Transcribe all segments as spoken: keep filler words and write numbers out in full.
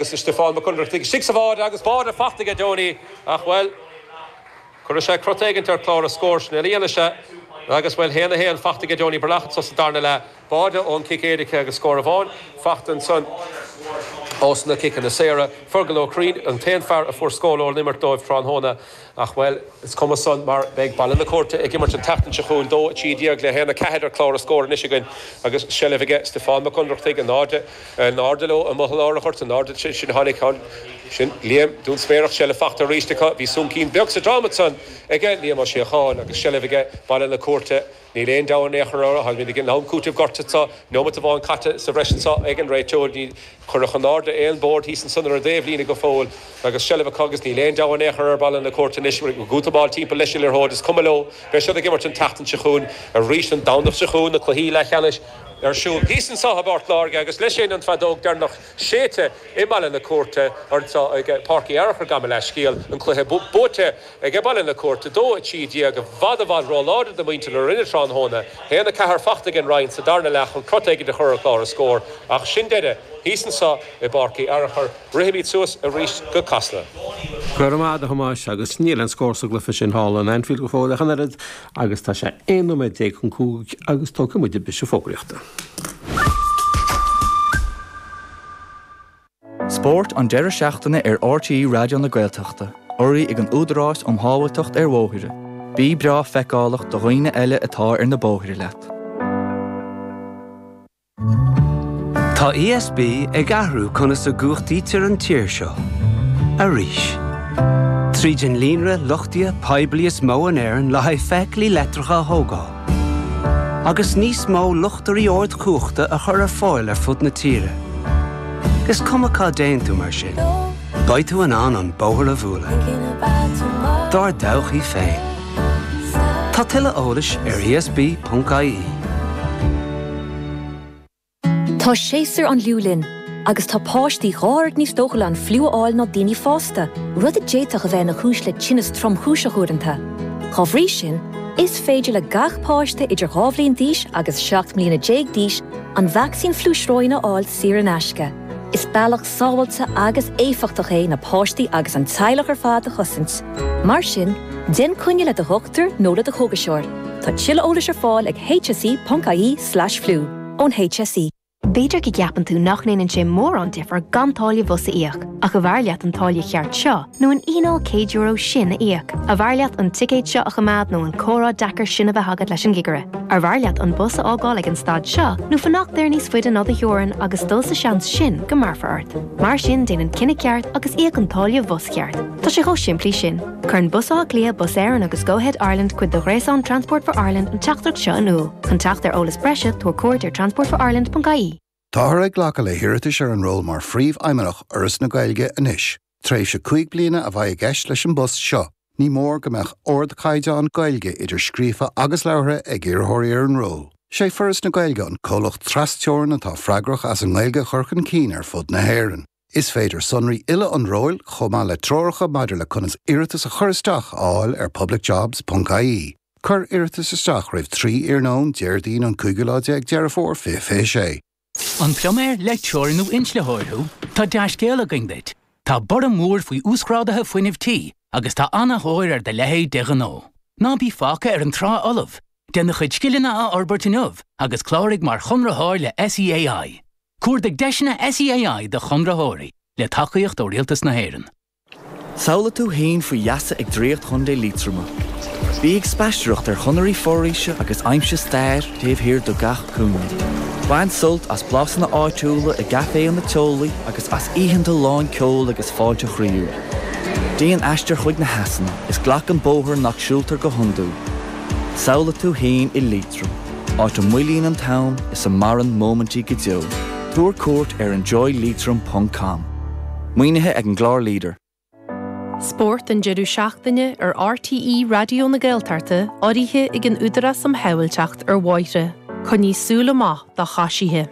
Agus Stiofán Mac Ionnrachtaigh istigh sa bháide agus báide faighte aige Donie ach bhuel cuirfidh sé crot éigin ar chlár an scóir sin a dhéanfaidh sé agus bhuel haon a haon faighte aige Donie Breathnach anso sa darna leath báide ón cic éirice agus scór amháin faighte ansan ós na ciceanna saora. Fergal Ó Curraoin an t-aon fear a fuair scór ón imirt dóibh tráthnóna ach bhuel is cuma san mar beidh Baile na Cúirte ag imirt an tseachtain seo chugainn dó a trí déag le haon a ceathair ar chlár an scóir anois againn agus seilbh aige Stiofán Mac Ionnrachtaigh in airde in airde leo amuigh i lár an ghoirt in airde sin tháinig sin Liam Dún Spéarach seilbh faighte arís acu bhí soncín beag sa drom ansan aige Liam Ó Síocháin agus seilbh aige Baile na Cúirte Níl aon deabhadh in aon chor orthu, táimid ag an am cúitimh gorta anseo, neomat amháin caite sa bhreis anseo ag an réiteoir, ní cuireadh in airde aon bord thíos ansan ar an dtaobhlíne go fóill agus seilbh acu agus níl aon deabhadh in aon chor ar Bhaile na Cúirte anois, ag útamáil timpeall leis an liathróid, is cuma leo, beidh siad ag imirt an tseachtain seo chugainn arís an Domhnach seo chugainn, na cluichí leathcheannais ar siúl thíos anseo i bPort Láirge agus leis sin an feadóg deireanach séidte i mBaile na Cúirte anseo ag Páirc Uí Fhearchair, gabh mo leithscéal, an cluiche buaite ag Baile na Cúirte, dó a trí déag, i bhfad i bhfad róláidir do mhuintir na Rinne tráthnóna, haon a ceathair faighte ag an Rinn sa darna leath chun crot éigin a chur ar chlár an scóir, ach sin deireadh thíos anseo i bPáirc Uí Fhearchair. Rithimid suas arís go Casla. Go raibh maith agat a Thomáis, agus níl aon scór sa gcluiche sin thall in Anfield go fóill ach an oiread, agus tá sé aon nóiméad déag chun cúig agus tógfaidh muid briseadh fógraíochta. Spórt an deireadh seachtaine ar RTÉ Raidió na Gaeltachta, urraithe ag an Údarás um Shábháilteacht ar Bhóithre. Bí breá feiceálach do dhaoine eile atá ar na bóithre leat. Tá ESB ag athrú conas a gcumhachtaítear an tír seo. Arís. Tríd an líonra luchtaithe poiblí is mó in Éirinn le haghaidh feithiclí leictreacha a thógáil. Agus níos mó luchtairí ardchumhachta a chur ar fáil ar fud na tíre. Is cuma cá dtéann tú mar sin, beidh tú in ann an bóthar a bhualadh. Dár dtodhchaí féin. Tá tuilleadh eolais ar ESB.ie. Tá séasúr an fhliú linn, agus tá páistí dhá oiread níos dóchúla an fliú a fháil ná daoine fásta, rud a d'fhéadfadh a bheith ina chúis le tinneas tromchúiseach uaireanta. Dá bhrí sin, is féidir le gach páiste idir dhá bhliain d'aois agus seacht mbliana déag d'aois an vacsaín fliú sróine a fháil saor in aisce. Is bealach sábháilte agus éifeachtach é na páistí agus an teaghlach ar fad a chosaint. Mar sin, déan coinne le do dhochtúir nó le do chógaiseoir. Tá tuilleadh eolais ar fáil ag hse.ie slash fliú ón HSE. B'fhéidir go gceapann tú nach ndéanann sé mórán difear gan táille bhus a íoc, ach arbh fhearr leat an táille cheart seo nó an fhíneáil céad euro sin a íoc. Arbh fhearr leat an ticéad seo a choimeád nó an comhrá deacair sin a bheith agat leis an gcigire. Arbh fhearr leat an bus a fhágáil ag an stad seo nó fanacht air níos faide ná do theorainn agus dul sa seans sin go mbearrfar ort. Mar sin déan an cinneadh ceart agus íoc an táille bhus cheart. Tá sé chomh simplí sin. Cuireann Bus Átha Cliath, Bus Éireann agus Go Ahead Ireland cuid de ghréasán Transport for Ireland an teachtaireacht seo in iúl. Chun teacht ar eolas breise tabhair cuairt ar transportforireland.ie. Táthar ag glacadh le hiarratais ar an ról mar phríomhfheidhmeannach Fhoras na Gaeilge anois. Tréimhse cúig bliana a bheidh i gceist leis an bpost seo. Ní mór go mbeadh ardchaighdeán Gaeilge idir scríofa agus labhartha ag iarrthóirí ar an ról. Sé Foras na Gaeilge an comhlacht trasteorann atá freagrach as an nGaeilge a chur chun cinn ar fud na hÉireann. Is féidir sonraí uile an róil chomh maith le treoracha maidir le conas iarratas a chur isteach a fháil ar publicjobs.ie. Cuir iarratas isteach roimh trí iarnóin Déardaoin an cúigiú lá déag Deireadh Fómhair fiche fiche sé. An pluiméir, leictreoir nó inslitheoir thú? Tá dea-scéal againn duit. Tá borradh mór faoi uasghráduithe fuinnimh tí agus tá an-tóir ar do leithéid de ghnó. Ná bí fágtha ar an trá fholamh. Déan do chuid scileanna a fhorbairt inniu agus cláraigh mar chonraitheoir le SEAI. Cuardaigh deiseanna SEAI do chonraitheoirí le tacaíocht ó Rialtas na hÉireann. Samhlaigh tú féin faoi gheasa ag Draíocht Chontae Liatroma. Bí ag spaisteoireacht ar chonairí foraoise agus aimsigh stair taobh thiar de gach cúinne. Bain sult as blasanna áitiúla i gcaiféanna teolaí agus as oícheanta lán ceoil agus fáilte chroíúil. Déan aistear chuig na heasanna is glac an bóthar nach siúltar go hiondúil. Samhlaigh tú féin i Liatroim, áit a moillíonn an t-am is a maireann móimintí go deo. Tabhair cuairt ar enjoyleitrim ponc com. Maoinithe ag an gclár Leader. Spórt an deireadh seachtaine ar RTÉ Raidió na Gaeltachta urraithe ag an Údarás um Shábháilteacht ar Bhóithre. Coinnigh súil amach do choisithe.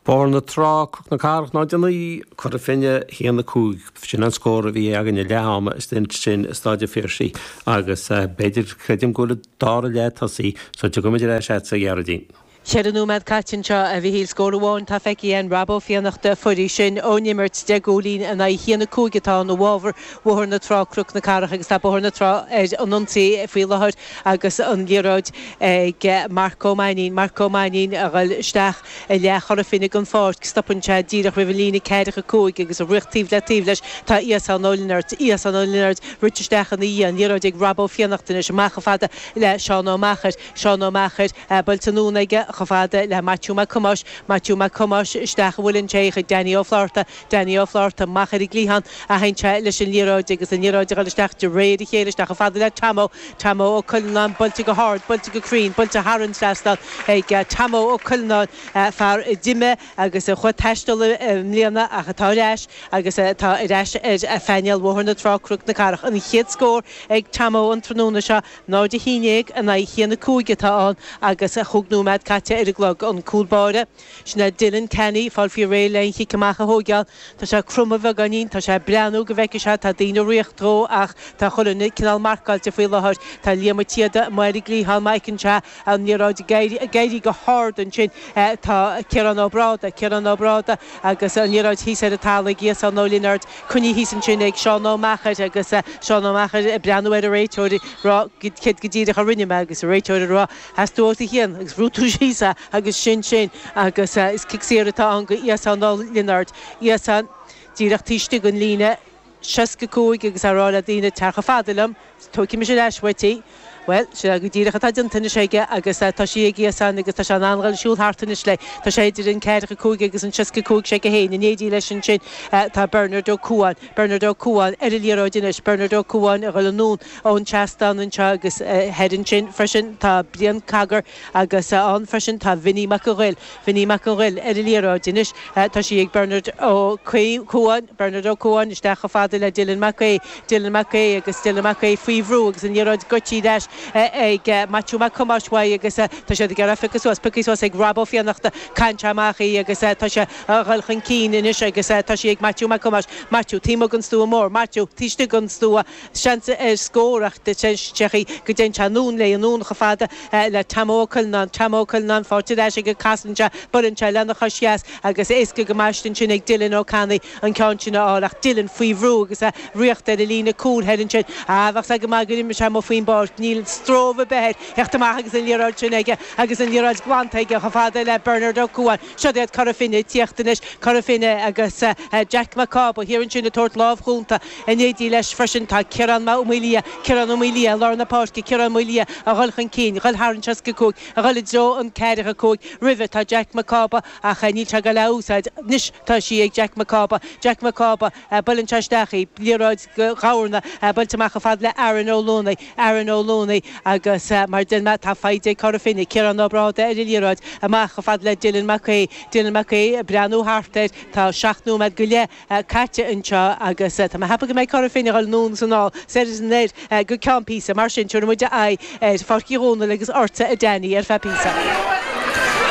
Bóthar na Trá, Cnoc na Cathrach náid a naoi, Cora Finne, a haon a cúig. Sin an scór a bhí againn ag leath ama istigh ansin i Staid an Phiarsaigh agus b'fhéidir, creidim go bhfuil an dara leath tosaithe so tiocfaidh muid ar ais agatsa a Ghearóidín. Ceithre nóiméad caite anseo, a Mhichíl. Scór amháin atá feicthe againn, Rob Ó Fiannachta, Foraois sin ón imirt, deich gcúilín in aghaidh a haon a cúig atá ann i bhfabhar Bhóthar na Trá, Cnoc na Cathrach agus tá Bóthar na Trá ar an ionsaí faoi láthair agus an liathróid ag Marc Ó Mainnín. Marc Ó Mainnín a dhul isteach i leath Chora Finne den pháirc. Stopann sé díreach roimh an líne ceathracha cúig agus ag rith taobh le taobh leis tá Íosán Ó Lionáird. Íosán Ó Lionáird rite isteach ina dhiaidh. An liathróid ag Rob Ó Fiannachta anois amach chomh fada le Seán Ó Meachair. Seán Ó Meachair buailte anonn aige chomh fada le Maitiú Mac Thomáis, Maitiú Mac Thomáis isteach a bhuaileann sé chuig Danny Ó Flátharta, Danny Ó Flátharta amach ar an gcliathán a théann sé leis an liathróid agus an liathróid a dhul isteach de réir a chéile isteach chomh fada le Tamó, Tamó Ó Cuileanáin buailte go hard, buailte go cruinn, buailte thar an trasnán ag Tamó Ó Cuileanáin, fear a d'imigh agus a chuaigh ag taisteal i mbliana ach atá ar ais agus atá ar ais ar phainéal Bhóthar na Trá, Cnoc na Cathrach. An chéad scór ag Tamó an tráthnóna seo. náid a haon déag in aghaidh a haon a cúig atá ann agus chúig nóiméad caite ar an gclog. An cúl báire, sin é Dylan Canny, fáil faoi réidh le an chic amach a thóigeáil. Tá sé cromtha beagáinín, tá sé ag breathnú go bhfeicfidh sé, tá daoine ag ritheacht dhó ach tá chuile dhuine cineál marcáilte faoi láthair. Tá Liam Ó Ciada amuigh ar an gcliathán má fheiceann sé an liathróid ag éirí go hard ansin. Tá Ciarán Ó Bráda, Ciarán Ó Bráda agus an liathróid thíos ar an talamh ag Íosán Ó Lionáird, coinnithe thíos ansin ag Seán Ó Meachair agus Seán Ó Meachair ag breathnú ar an réiteoir ag rá céard go díreach a rinne mé agus an réiteoir ag rá sheas tú os a chionn agus bhrúigh tú síos é agus sin sin agus is cic saor atá ann go Íosán Ó Lionáird. Íosán díreach taobh istigh den líne seasca cúig agus á rá le daoine tar chomh fada liom, tógfaidh mise ar ais uait í. Bhuel, sin é go díreach atá déanta anois aige agus tá sí ag Íosán agus tá sé in ann dhul ag siúl thart anois léi. Tá sé idir an ceathracha cúig agus an seasca cúig sé a haon. In éindí leis ansin tá Bernard Ó Cuain. Bernard Ó Cuain ar an liathróid anois. Bernard Ó Cuain a dhul anonn ón seastán anseo agus thoir ansin freisin tá Brian Cogger agus ann freisin tá Vinny Mac an Ghoill. Vinny Mac an Ghoill ar an liathróid anois. Tá sí ag Bernard Ó Cuain. Bernard Ó Cuain isteach chomh fada le Dylan Mac Aodha. Dylan Mac Aodha agus Dylan Mac Aodha faoi bhrú agus an liathróid goidte ar ais ag Maitiú Mac Thomáis uaidh agus tá siad ag iarraidh piocadh suas, pioctha suas ag Rob Ó Fiannachta, caitheann sé amach í agus tá sé a dhul chun cinn anois agus tá sí ag Maitiú Mac Thomáis. Maitiú, taobh amuigh den stua mór, Maitiú, taobh istigh den stua, seans ar scór ach sé chaoi go dtéann sé anonn léi, anonn chomh fada le Tamó Ó Cuileanáin, Tamó Ó Cuileanáin faighte ar ais aige, casann sé, buaileann sé lena chois dheas agus éasca go maith ansin ag Dylan Ó Ceannaigh an ceann sin a fháil ach Dylan faoi bhrú agus é ag ritheacht ar an líne cúil thoir ansin. Ah, bheadh sé go maith gur imigh sé amuigh faoin bpáirc. Níl stró ar bith air theacht amach agus an liathróid sin aige agus an liathróid glanta aige chomh fada le Bernard Ó Cuain. Siod iad Cora Finne ag tíocht anois, Cora Finne agus Jack Mac Cába thiar ansin ag tabhairt lámh chúnta. In éindí leis freisin tá Ciarán Ó Maolaodha, Ciarán Ó Maolaodha i lár na páirce, Ciarán Ó Maolaodha a dhul chun cinn, a dhul thar an seasca cúig, a dhul i dtreo an ceathracha cúig. Roimhe tá Jack Mac Cába ach níl sé ag dul a úsáid. Anois tá sí ag Jack Mac Cába. Jack Mac Cába, buaileann sé isteach í, liathróid go Ghabharna, buailte amach chomh fada le Aaron Ó Luanaigh, Aaron Ó Luanaigh agus mar a deir mé tá faighte ag Cora Finne, Ciarán Ó Bráda ar an liathróid, amach chomh fada le Dylan Mac Aodha, Dylan Mac Aodha ag breathnú thart air, tá seacht nóiméad go leith caite anseo agus tá mé ag ceapadh go mbeidh Cora Finne ag dul anonn is anall, soir is anoir go ceann píosa, mar sin tabharfaidh muid aghaidh ar Pháirc Uí Dhónaill agus ortsa a Danny ar feadh píosa.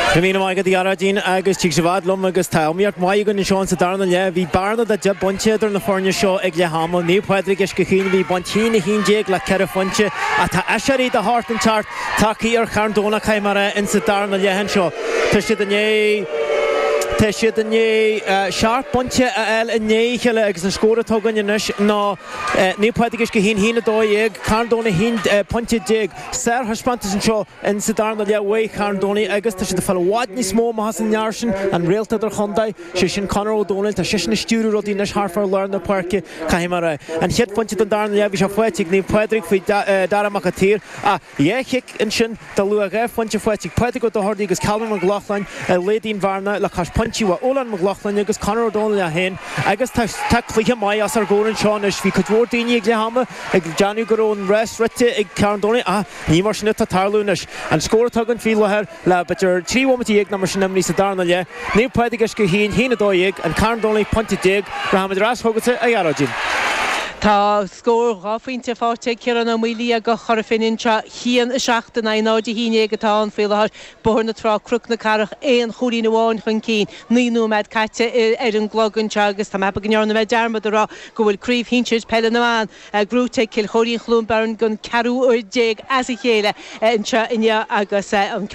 Go raibh míle maith agat a Ghearóidín agus tig sibh fhad liom agus tá iomaíocht mhaith againn anseo sa darna leath. Bhí bearna de deich bpointe idir na foirne seo ag leath ama. Naomh Pádraig Uisce Chaoin a bhí ag baint haon a haon déag le ceithre phointe ach tá aiséirí de shórt inteacht tagtha ar Charn Domhnach caithfidh mé a rá insa darna leath anseo. Tá siad i ndiaidh Tá siad i ndiaidh seacht bpointe a fháil i ndiaidh a chéile agus an scór atá againn anois ná Naomh Pádraig Uisce Chaoin haon a dó dhéag, Carn Domhnach haon pointe déag. Sárthaispeántas anseo in sa darna leath uaidh Charn Domhnaigh agus tá siad ag fáil i bhfad níos mó amach as an fhear sin, an réalta idirchontae, sé sin Conor Ó Domhnaill. Tá seisean ag stiúradh rudaí anois thart fá lár na páirce, caithfidh mé a rá. An chéad phointe den darna leath, bhí sé faighte ag Naomh Pádraig faoi Dara Mac an tSaoir ach dhá chic ansin de luach dhá phointe faighte ag Pádraig Ó Dochartaigh agus Calvin Mac Lochlainn a laghdaigh an bhearna le cois pointí uaidh Olan Mac Lochlainn agus Conor Ó Domhnaill é féin agus tá tá cluiche maith os ár gcomhair anseo anois. Bhí cuid mhór daoine ag leath ama ag déanamh go raibh an rás rite ag Carn Domhnach ach ní mar sin atá ag tarlú anois. An scór atá againn faoi láthair le b'fhéidir trí bhomaite dhéag nó mar sin imithe sa darna leath, Naomh Pádraig Uisce Chaoin, haon a dó dhéag, An Carn Domhnach, pointe déag. Rachaimid ar ais chugatsa, a Ghearóidín. Tá scór dhá phointe faighte ag Ciarán Ó Maolaodha do Chora Finne anseo haon a seacht in aghaidh náid a haon déag atá ann faoi láthair Bóthar na Trá Cnoc na Cathrach aon chúilín amháin chun cinn naoi nóiméad caite ar an gclog anseo agus tá mé ag ceapadh go ndearna mé dearmad a rá go bhfuil craobh shinsir peile na mban gnóthaithe ag Cill Chóirín Chluain Beirn don ceathrú uair déag as a chéile anseo inniu agus an ceann